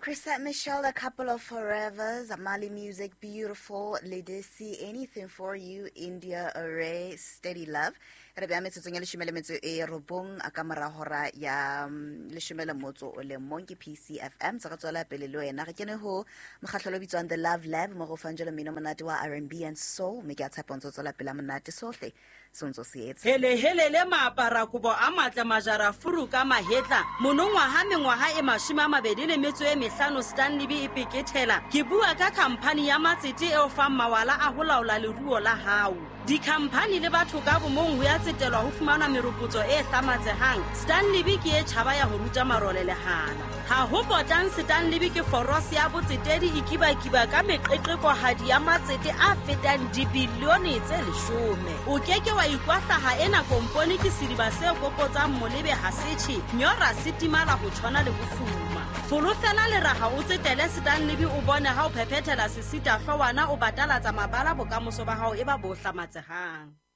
Chrisette Michelle, A Couple of Forevers, Mali Music, Beautiful, Ledisi, Anything For You, India Array, Steady Love. Re bea metsotsong ya leshome le metso e robong a ka mora hora ya leshome le motso o le mong ke PCFM. Tsa re tswela pele le wena. Re kene ho mokgahlelo o bitswang The Love Lab mo go fang jalo mmino monate wa R&B and Soul, mme ke a tshepa o ntse o tswela pele a monate sohle se o ntse o se etsa. Helele maaparakobo a matle majara furu ka mahetla monongwaha mengwaha e 25 Stanley e pekethela. Ke bua ka khamphani ya matsete e o fang mawala a ho laola leruo la hao. Dikhamphani le batho ka bomong ho ya tsetelwa ho fumanwa meropotso e hlamatsehang. Stanley ke e tjhaba ya ho ruta marole lehala. Ha ho potang Stanley ke forose ya botsetedi e kibakiba ka meqeqekohadi ya matsete a fetang dibilione tse 10. O ke ke wa ikwahlaha ena kompone ke sediba se kokotsang molebe ha se tjhe, nyora se timala ho tshwana le bofuma. Folofela leraha o tsetele Stanley o bone ha o phephethela sesita hlowana o batalatsa mabala bokamoso ba hao e ba bo hlamatsehang.